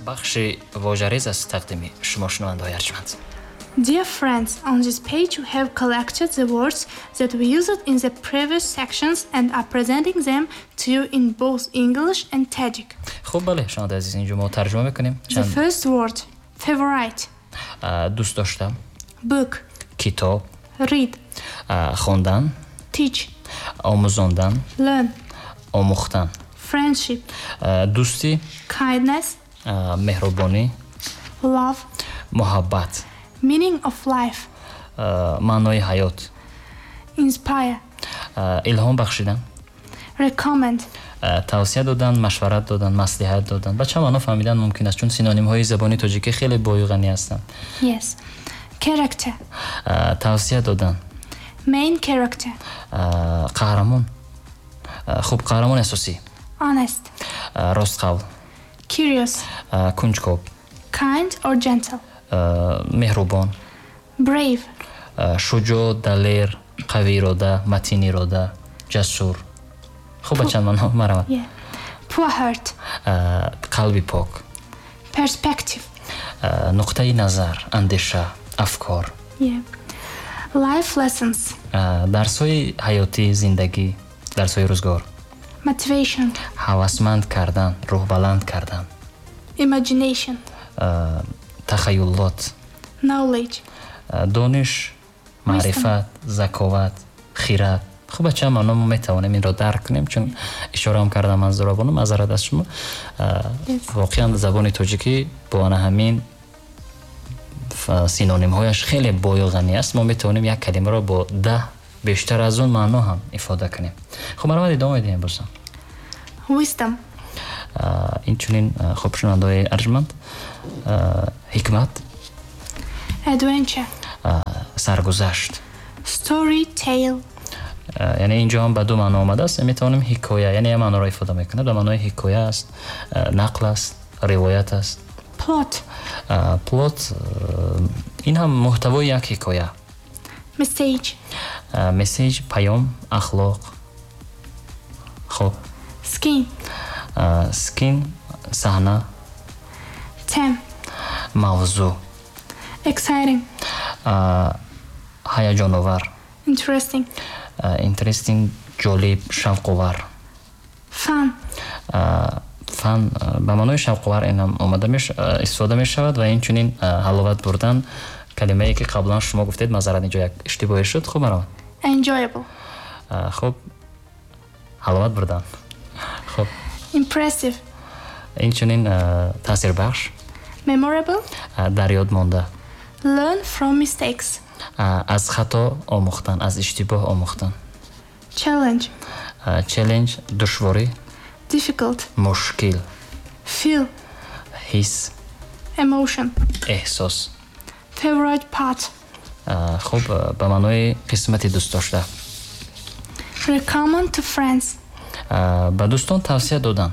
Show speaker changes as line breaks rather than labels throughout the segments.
Бахши вожарез аст тақдими шумо, шунавандаҳои арҷманд.
Dear friends, on this page we have collected the words that we used in the previous sections and are presenting them to you in both English and Tajik.
Хуб, бале, шунавандаи азиз, инҷо мо тарҷума мекунем.
The first word, favorite.
Дӯст доштам.
Book.
Китоб.
Read.
Хондан.
Teach.
Омӯзондан.
Learn.
Омӯхтан.
Friendship.
Дӯстӣ.
Kindness.
Меҳрубонӣ.
Love.
Муҳаббат.
Meaning of life.
Маънои ҳаёт.
Inspire.
Илҳом бахшидан.
Recommend.
Тавсия додан, машварат додан, маслиҳат додан. Ба чанд маъно фаҳмидан мумкин аст, чун синонимҳои забони тоҷикӣ хеле бою ғанӣ ҳастанд.
Yes. Character.
Тавсия додан.
Main character.
Қаҳрамон. Хуб, қаҳрамони асосӣ.
Honest.
Ростқавл.
Curious.
Кунҷков.
Kind or gentle.
Меҳрубон.
Brave.
Шуҷоъ, далер, қавиирода, матинирода, ҷасур. Хуб, ба чанд маъно маравад.
Yeah. Pure heart.
Қалби пок.
Perspective.
Нуқтаи назар, андеша, афкор.
Yeah. Life lessons.
Дарсҳои ҳаётӣ, зиндагӣ, дарсҳои рӯзгор.
Motivation.
Ҳавасманд кардан, рӯҳбаланд кардан.
Imagination.
Тахаюлот.
Knowledge.
Дониш, маърифат, заковат, хират. Хуб, ба чанд маъно мо метавонем инро дарк кунем, чун ишораам кардам ман, Зурабону, маъзарат аз шумо. Воқеан, забони тоҷикӣ бо ана ҳамин синонимҳояш хеле бою ғанӣ аст. Мо метавонем як калимаро бо 10, бештар аз он маъно ҳам ифода кунем. Хуб, марҳамат, идома медиҳем бозам.
Wisdom.
Инчунин, хуб, шунавандаҳои арҷманд, ҳикмат.
Adventure.
Саргузашт.
Story, tale.
Яъне инҷо ҳам ба ду маъно омадааст. Метавонем ҳикоя, яъне як маъноро ифода мекунад, ба маънои ҳикоя аст, нақл аст, ривоят аст.
Plot.
Plot, ин ҳам муҳтавои як ҳикоя.
Message.
Message, паём, ахлоқ. Хуб.
Scene.
Scene, саҳна.
Theme.
Мавзӯъ.
Exciting.
Ҳаяҷоновар.
Interesting.
Interesting, ҷолиб, шавқовар.
Fun.
Fun, ба маънои шавқовар ин ҳам омада, истифода мешавад ва инчунин ҳаловат бурдан, калимае ки қаблан шумо гуфтед, маъзарат, инҷо як иштибоҳе шуд. Хуб, маромад.
Enjoyable.
Хуб, ҳаловат бурдан. Хуб.
Impressive.
Инчунин таъсирбахш.
Memorable.
Дар ёд монда.
Learn from mistakes.
Аз хато омӯхтан, аз иштибоҳ омӯхтан.
Challenge.
Challenge, душворӣ.
Difficult.
Мушкил.
Feel.
Ҳис.
Emotion.
Эҳсос.
Favorite part.
Хуб, ба маънои қисмати дӯстдошта.
Recommend to friends.
Ба дӯстон тавсия додан.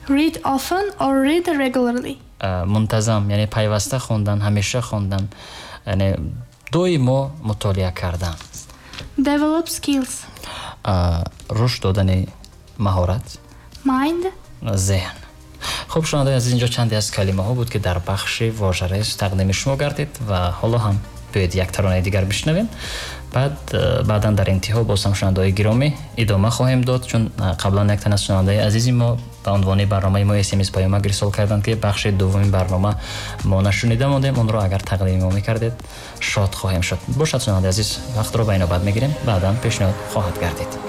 Read often or read regularly.
Мунтазам, яъне пайваста хондан, ҳамеша хондан, яъне доимо мутолиа кардан.
Develop skills.
Рушд додани маҳорат.
Mind.
Зеҳн. Хуб, шунавандаи азиз, инҷо чанде аз калимаҳо буд, ки дар бахши вожарез тақдими шумо гардид ва ҳоло ҳам биёед, як таронаи дигар бишнавем, баъд баъдан дар интиҳо боз ҳам, шунавандаҳои гиромӣ, идома хоҳем дод, чун қаблан як тан аз шунавандаи азизи мо ба унвони барномаи мо смс паёмак ирсол карданд, ки бахши дуввуми барнома мо нашунида мондем, онро агар тақдими мо мекардед, шод хоҳем шуд. Бошад, шунавандаи азиз, вақтро ба инобат мегирем, баъдан пешниҳод хоҳад гардид.